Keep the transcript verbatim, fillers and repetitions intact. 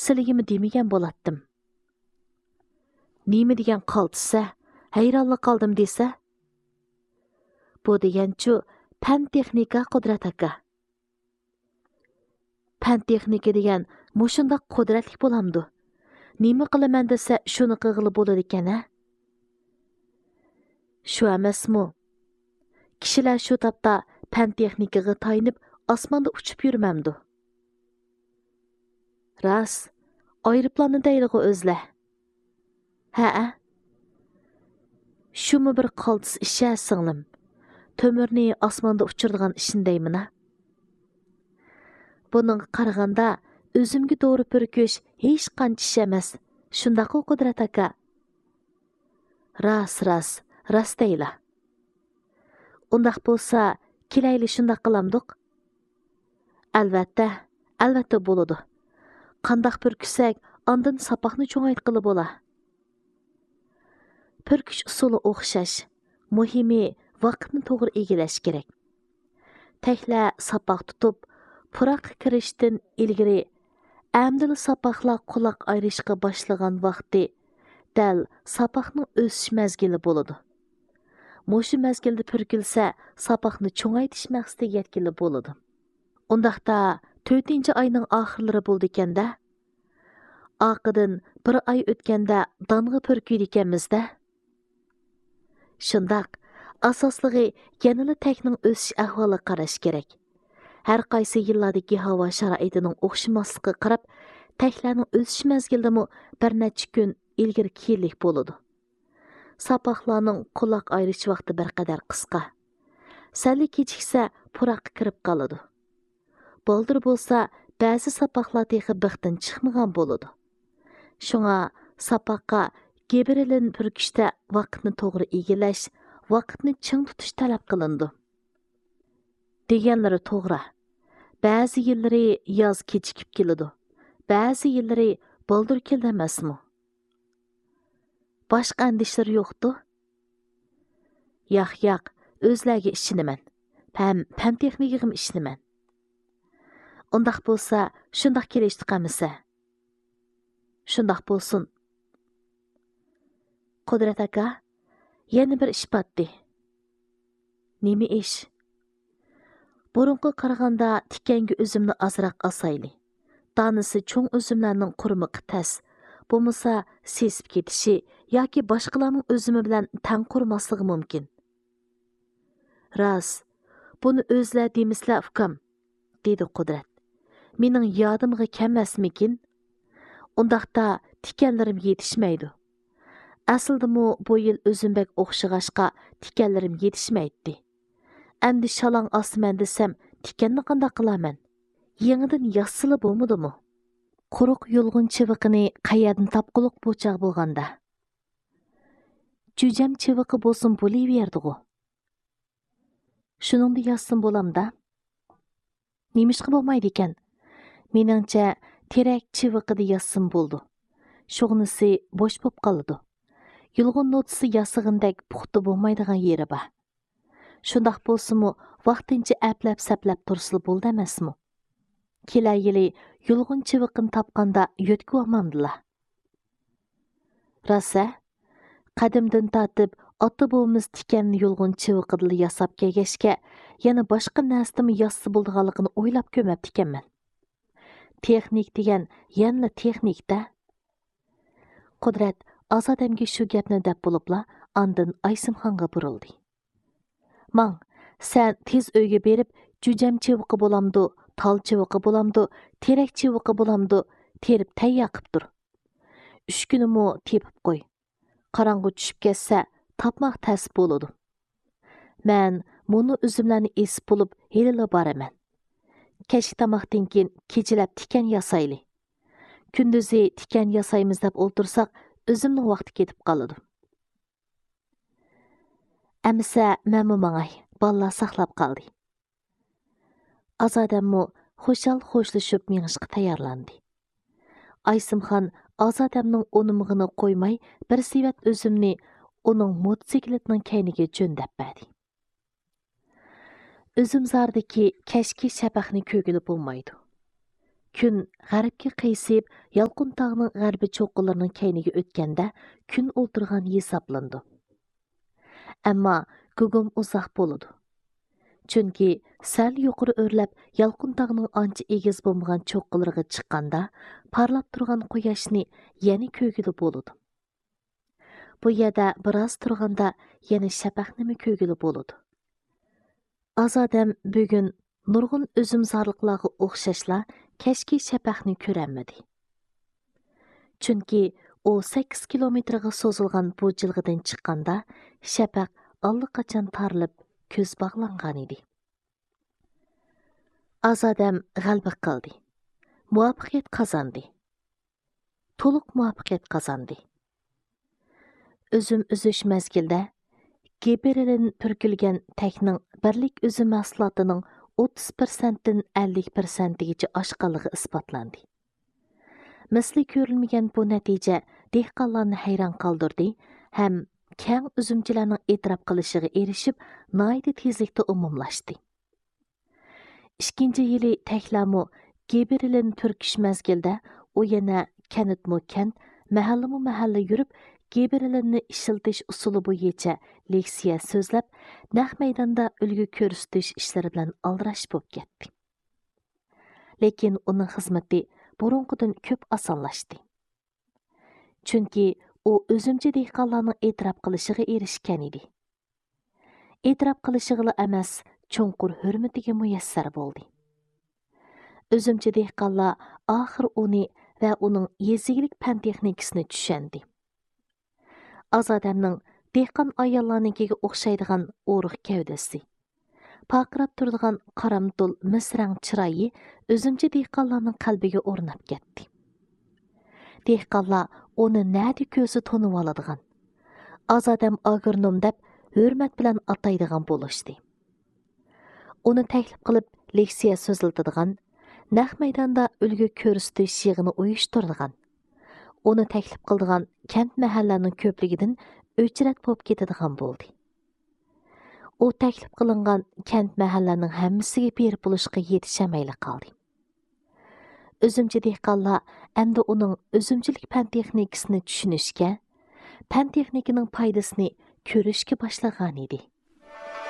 قالتىسچىلىكىمنى دېمىگەن بولاتتىم. نېمە دېگەن قالتىسە؟ ھەيرانلا قالدىم دېسە. بۇ دېگەنچۇ پەن تېخنىكا، قۇدرەت ئاكا. پەن تېخنىكا دېگەن مۇشۇنداق قۇدرەتلىك بولامدۇ؟ نېمە قىلىمەن دېسە، شۇنى قىلغىلى بولىدىكەن ھە؟ شۇ ئەمەسمۇ؟ كىشىلەر شۇ تاپتا پەن تېخنىكىغا تايىنىپ ئاسماندا ئۇچۇپ يۈرمەمدۇ؟ راست، ئايروپىلاننى دەيدىغۇ ئۆزلەر. ھەئە. شۇمۇ بىر قالتىس ئىش ھە، سىڭلىم. تۆمۈرنى ئاسماندا ئۇچۇرىدىغان ئىشنى دەيمىنا. بۇنىڭغا قارىغاندا، ئۆزۈمگە دورا پۈركۈش ھېچقانچە ئىش ئەمەس. شۇنداققۇ، قۇدرەت ئاكا؟ راست، راست، راست دەيلا. ئۇنداق بولسا، كېلەيلى شۇنداق قىلامدۇق؟ ئەلۋەتتە، ئەلۋەتتە بولىدۇ. قانداق پۈركۈسەك، ئاندىن ساپاقنى چوڭايتقىلى بولا. پۈركۈش ئۇسۇلى ئوخشاش. مۇھىمى، ۋاقىتنى توغرا ئىگىلەش كېرەك. تەكلە ساپاق تۇتۇپ، پۇراققا كىرىشتىن ئىلگىرى، ئەمدىلا ساپاقلار قۇلاق ئايرىشقا باشلىغان ۋاقتى، دەل ساپاقنىڭ ئۆسۈش مەزگىلى بولىدۇ. مۇشۇ مەزگىلدە پۈركۈلسە، ساپاقنى چوڭايتىش مەقسىتىگە يەتكىلى بولىدۇ. ئۇنداقتا، تۆتىنچى ئاينىڭ ئاخىرلىرى بولىدىكەن-دە. ئارقىدىن بىر ئاي ئۆتكەندە دانغا پۈركۈيدىكەنمىز-دە. شۇنداق، ئاساسلىقى يەنىلا تەكنىڭ ئۆسۈش ئەھۋالىغا قاراش كېرەك. ھەر قايسى يىللاردىكى ھاۋا شارائىتىنىڭ ئوخشىماسلىقىغا قاراپ، تەكلەرنىڭ ئۆسۈش مەزگىلىمۇ بىر نەچچە كۈن ئىلگىرى كېيىنلىك بولىدۇ. ساپاقلارنىڭ قۇلاق ئايرىش ۋاقتى بىر قەدەر قىسقا. سەللا كېچىكسە، پۇراققا كىرىپ قالىدۇ. بالدۇر بولسا، بەزى ساپاقلار تېخى بىختىن چىقمىغان بولىدۇ. شۇڭا ساپاققا گىبرېلىن پۈركۈشتە ۋاقىتنى توغرا ئىگىلەش، ۋاقىتنى چىڭ تۇتۇش تەلەپ قىلىنىدۇ. دېگەنلىرى توغرا. بەزى يىللىرى ياز كېچىكىپ كېلىدۇ، بەزى يىللىرى بالدۇر كېلىدۇ ئەمەسمۇ؟ باشقا ئەندىشىلىرى يوقتۇ؟ ياق، ياق، ئۆزلەرگە ئىشىنىمەن. ھەم پەن تېخنىكىغىمۇ ئىشىنىمەن. ئۇنداق بولسا، شۇنداق كېلىشتۇق ئەمىسە. شۇنداق بولسۇن. قۇدرەت ئاكا، يەنە بىر ئىش پاتتى. نېمە ئىش؟ بۇرۇنقىغا قارىغاندا تىكەنگە ئۈزۈمنى ئازراق ئاسايلى. دانىسى چوڭ ئۈزۈملەرنىڭ قۇرۇمىقى تەس، بولمىسا سېسىپ كېتىشى ياكى باشقىلارنىڭ ئۈزۈمى بىلەن تەڭ قۇرۇماسلىقى مۇمكىن. راست، بۇنى ئۆزلەر دېمىسىلە، ئۇكام، دېدى قۇدرەت. مېنىڭ يادىمغا كەلمەسمىكىن؟ ئۇنداقتا تىكەنلىرىم يېتىشمەيدۇ. ئەسلىدىمۇ بۇ يىل ئۈزۈم بەك ئوخشىغاچقا، تىكەنلىرىم يېتىشمەيتتى. ئەمدى شالاڭ ئاسىمەن دېسەم، تىكەننى قانداق قىلارمەن؟ يېڭىدىن ياسىسىلا بولمىدىمۇ؟ قۇرۇق يۇلغۇن چىۋىقىنى قەيەردىن تاپقۇلۇق بۇ چاغ بولغاندا؟ جۈجەم چىۋىقى بولسۇن بولۇۋېرىدىغۇ. شۇنىڭدا ياسىسىمۇ بولامدا؟ نېمىشقا بولمايدىكەن؟ مېنىڭچە، تېرەك چىۋىقىدا ياسىسىمۇ بولىدۇ. شۇغنىسى بوش بولۇپ قالىدۇ. يۇلغۇن نوتىسى ياسىغىنىدەك پۇختا بولمايدىغان يېرى بار. شۇنداق بولسىمۇ، ۋاقتىنچە ئەپلەپ-سەپلەپ تۇرسىلا بولىدۇ ئەمەسمۇ؟ كېلەر يىلى يۇلغۇن چىۋىقىنى تاپقاندا يۆتكىۋالمامدىلا؟ راست ھە؟ قەدىمدىن تارتىپ ئاتا-بوۋىمىز تىكەننى يۇلغۇن چىۋىقىدىلا ياساپ كەلگەچكە، يەنە باشقا نەرسىدىنمۇ ياسىسا بولىدىغانلىقىنى ئويلاپ كۆرمەپتىكەنمەن. تېخنىك دېگەن يەنىلا تېخنىك-دە. قۇدرەت ئازادەمگە شۇ گەپنى دەپ بولۇپلا، ئاندىن ئايسىمخانغا بۇرۇلدى. ماڭ، سەن تېز ئۆيگە بېرىپ، جۈجەم چىۋىقى بولامدۇ، تال چىۋىقى بولامدۇ، تېرەك چىۋىقى بولامدۇ، تېرىپ تەييار قىپ تۇر. ئۈچ كۈنىمۇ تېپىپ قوي. قاراڭغۇ چۈشۈپ كەتسە، تاپماق تەس بولىدۇ. مەن مۇنۇ ئۈزۈملەرنى ئېسىپ بولۇپ، ھېلىلا بارىمەن. كەچلىك تاماقتىن كېيىن كېچىلەپ تىكەن ياسايلى. كۈندۈزى تىكەن ياسايمىز دەپ ئولتۇرساق، ئۈزۈمنىڭ ۋاقتى كېتىپ قالىدۇ. ئەمىسە مەنمۇ ماڭاي، بالىلار ساقلاپ قالدى. ئازادەممۇ خۇشال خوشلىشىپ مېڭىشقا تەييارلاندى. ئايسىمخان ئازادەمنىڭ ئۇنىمىغىنى قويماي، بىر سېۋەت ئۈزۈمنى ئۇنىڭ موتوسىكلىتىنىڭ كەينىگە جۆندەپ بەردى. ئۈزۈمزاردىكى كەچكى شەپەقنى كۆرگىلى بولمايدۇ. كۈن غەربكە قىيسىپ، يالقۇن تاغنىڭ غەربىي چوققىلىرىنىڭ كەينىگە ئۆتكەندە، كۈن ئولتۇرغان ھېسابلىنىدۇ. ئەمما گۇگۇم ئۇزاق بولىدۇ. چۈنكى سەل يۇقىرى ئۆرلەپ، يالقۇن تاغنىڭ ئانچە ئېگىز بولمىغان چوققىلىرىغا چىققاندا، پارلاپ تۇرغان قۇياشنى يەنە كۆرگىلى بولىدۇ. بۇ يەردە بىراز تۇرغاندا يەنە شەپەقنىمۇ كۆرگىلى بولىدۇ. ئازادەم بۈگۈن نۇرغۇن ئۈزۈمزارلىقلارغا ئوخشاشلا كەچكى شەپەقنى كۆرەلمىدى. چۈنكى ئۇ سەككىز كىلومېتىرغا سوزۇلغان بۇ جىلغىدىن چىققاندا، شەپەق ئاللىقاچان تارىلىپ، كۆز باغلانغانىدى. ئازادەم غەلىبە قىلدى. مۇۋەپپەقىيەت قازاندى. تولۇق مۇۋەپپەقىيەت قازاندى. ئۈزۈم ئۈزۈش مەزگىلىدە گىبېرېلىن پۈركۈلگەن تەكنىڭ بىرلىك ئۈزۈم مەھسۇلاتىنىڭ ئوتتۇز پىرسەنتتىن ئەللىك پىرسەنتىگىچە ئاشقانلىقى ئىسپاتلاندى. مىسلى كۆرۈلمىگەن بۇ نەتىجە دېھقانلارنى ھەيران قالدۇردى ھەم كەڭ ئۈزۈمچىلەرنىڭ ئېتىراپ قىلىشىغا ئېرىشىپ، ناھايىتى تېزلىكتە ئومۇملاشتى. ئىككىنچى يىلى تەكلەرمۇ گىبېرېلىن پۈركۈش مەزگىلىدە ئۇ يەنە كەنتمۇ كەنت، مەھەللىمۇ مەھەللە يۈرۈپ، گىبېرېلىننى ئىشلىتىش ئۇسۇلى بويىچە لېكسىيە سۆزلەپ، نەق مەيداندا ئۈلگە كۆرسىتىش ئىشلىرى بىلەن ئالدىراش بولۇپ كەتتى. لېكىن ئۇنىڭ خىزمىتى بۇرۇنقىدىن كۆپ ئاسانلاشتى. چۈنكى ئۇ ئۈزۈمچى دېھقانلارنىڭ ئېتىراپ قىلىشىغا ئېرىشكەن ئىدى. ئېتىراپ قىلىشىغىلا ئەمەس، چوڭقۇر ھۆرمىتىگە مۇيەسسەر بولدى. ئۈزۈمچى دېھقانلار ئاخىر ئۇنى ۋە ئۇنىڭ يېزا ئىگىلىك پەن تېخنىكىسىنى چۈشەندى. ئازادەمنىڭ دېھقان ئاياللارنىڭكىگە ئوخشايدىغان ئورۇق گەۋدىسى، پارقىراپ تۇرىدىغان قارامتۇل مىس رەڭ چىرايى ئۈزۈمچى دېھقانلارنىڭ قەلبىگە ئورناپ كەتتى. دېھقانلار ئۇنى نەدە كۆرسە تونۇۋالىدىغان، ئازادەم ئاگرونوم دەپ ھۆرمەت بىلەن ئاتايدىغان بولۇشتى. ئۇنى تەكلىپ قىلىپ لېكسىيە سۆزلىتىدىغان، نەق مەيداندا ئۈلگە كۆرسىتىش يىغىنى ئۇيۇشتۇرىدىغان، ئۇنى تەكلىپ قىلىدىغان كەنت مەھەللىلەرنىڭ كۆپلۈكىدىن ئۆچرەت بولۇپ كېتىدىغان بولدى. ئۇ تەكلىپ قىلىنغان كەنت مەھەللىلەرنىڭ ھەممىسىگە بېرىپ بولۇشقا يېتىشەلمەيلا قالدى. ئۈزۈمچى دېھقانلار ئەمدى ئۇنىڭ ئۈزۈمچىلىك پەن تېخنىكىسىنى چۈشىنىشكە، پەن تېخنىكىنىڭ پايدىسىنى كۆرۈشكە باشلىغانىدى.